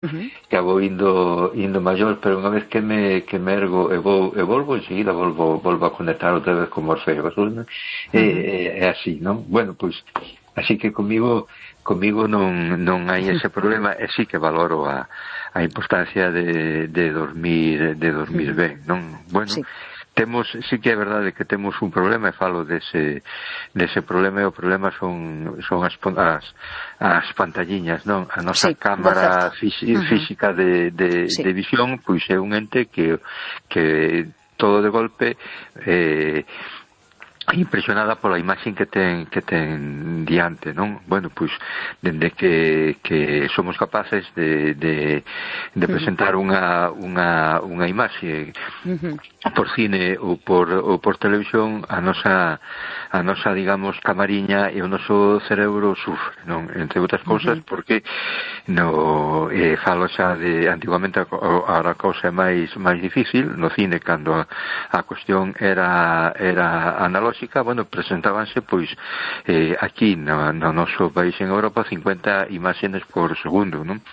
que vou indo maior, pero unha vez que me ergo e volvo enseguida, volvo a conectar outra vez con Morfeo. É así, non? Bueno, pois así que comigo non hai ese problema, e sí que valoro a importancia de dormir ben, non? Bueno, sí que é verdade que temos un problema, e falo dese problema, e o problema son as pantalliñas, non? A nosa cámara física de visión, pois é un ente que todo de golpe impresionada pola imaxe que ten diante, non? Bueno, pois dende que somos capaces de presentar unha imaxe por cine ou por televisión, a nosa digamos camariña e o noso cerebro sufre, non? Entre outras cousas porque falo xa de antigamente, a cousa é máis difícil no cine, cando a cuestión era analóxica. Bueno, presentábanse pois aquí no noso país en Europa 50 imágenes por segundo, non?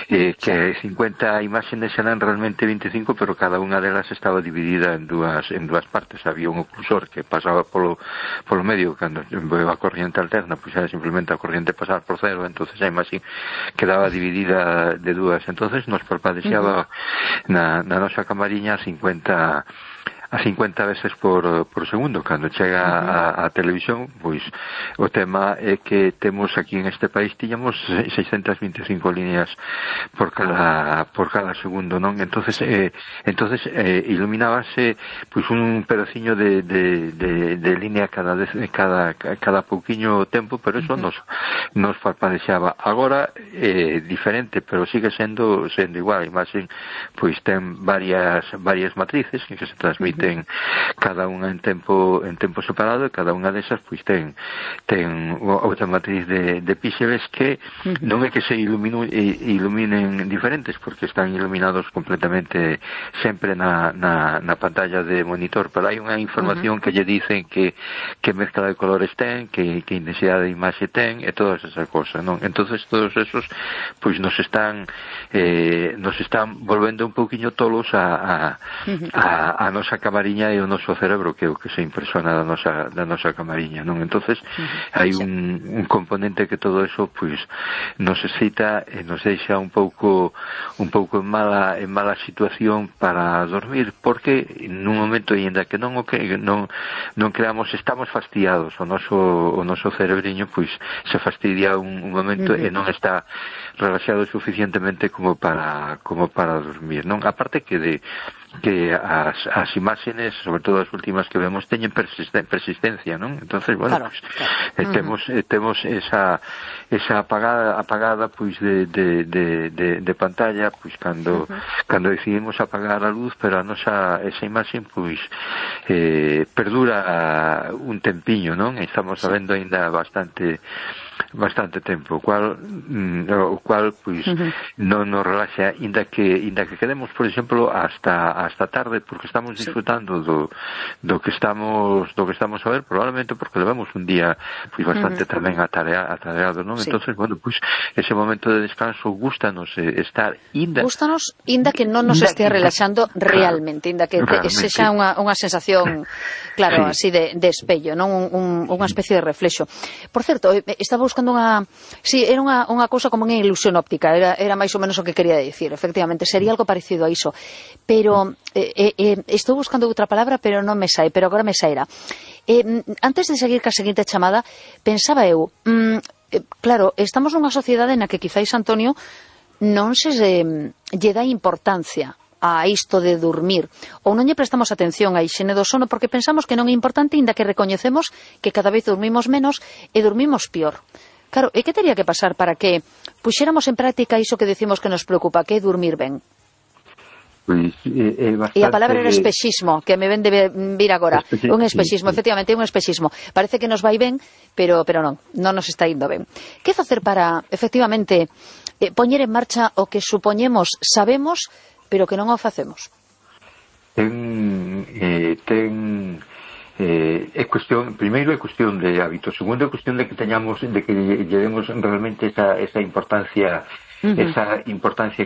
Que 50 imágenes eran realmente 25, pero cada unha delas estaba dividida en dúas partes. Había un oclusor que pasaba polo medio, cando a corriente alterna, pois era simplemente a corriente pasar por cero, entonces a imaxe quedaba dividida de dúas, entonces nos parpadexaba na nosa camariña a 50 veces por segundo. Cando chega a televisión, pois o tema é que temos aquí en este país tiñamos 625 líneas por cada segundo, non? Entonces iluminábase pois un pedaciño de línea cada pouquiño tempo, pero eso nos parpadexaba. Agora é diferente, pero sigue sendo igual. A imaxe pois ten varias matrices que se transmiten cada unha en tempo separado, e cada unha desas pois ten outra matriz de píxeles que non é que se iluminen diferentes, porque están iluminados completamente sempre na pantalla de monitor, pero hai unha información que lle dicen que mezcla de colores ten, que intensidade de imaxe ten, e todas esas cosas, non? Entonces todos esos pois nos están volvendo un pouquiño tolos a nosa camariña e o noso cerebro, que é o que se impresiona da nosa camariña, non? Entonces hai un componente que todo eso pois nos excita e nos deixa un pouco en mala situación para dormir, porque nun momento, ainda que non creamos, estamos fastidiados, o noso cerebriño pois se fastidia un momento e non está relaxado suficientemente como para dormir, non? Aparte que as imágenes, sobre todo as últimas que vemos, teñen persistencia, non? Entonces, bueno, temos esa apagada pois de pantalla, pois cando decidimos apagar a luz, pero esa imaxe pois perdura un tempiño, non? Estamos sabendo aínda bastante tempo, o cual pois non nos relaxa, inda que quedemos, por exemplo, hasta tarde, porque estamos disfrutando do que estamos a ver, probablemente porque levamos un día pois bastante tamén atareado, non? Entonces, bueno, pois ese momento de descanso gústanos estar inda que non nos estea relaxando realmente, inda que sexa unha sensación, claro, así de espello, non? Unha especie de reflexo. Por certo, estaba buscando era unha cousa como unha ilusión óptica, era máis ou menos o que quería dicir. Efectivamente, sería algo parecido a iso, pero estou buscando outra palabra, pero non me sai, pero agora me sairá. Antes de seguir ca seguinte chamada, pensaba eu, claro, estamos nunha sociedade na que quizáis, Antonio, non se lle dá importancia a isto de dormir, ou non lle prestamos atención á hixiene do sono porque pensamos que non é importante, inda que recoñecemos que cada vez dormimos menos e dormimos pior. Claro, e que teria que pasar para que puxéramos en práctica iso que decimos que nos preocupa, que é dormir ben? E a palabra era espexismo, que me ven de vir agora. Un espexismo, efectivamente, un espexismo. Parece que nos vai ben, pero non nos está indo ben. Que facer para, efectivamente, poñer en marcha o que supoñemos sabemos, pero que non o facemos? Primeiro é cuestión de hábito, segundo é cuestión de que lle demos realmente esa importancia esa importancia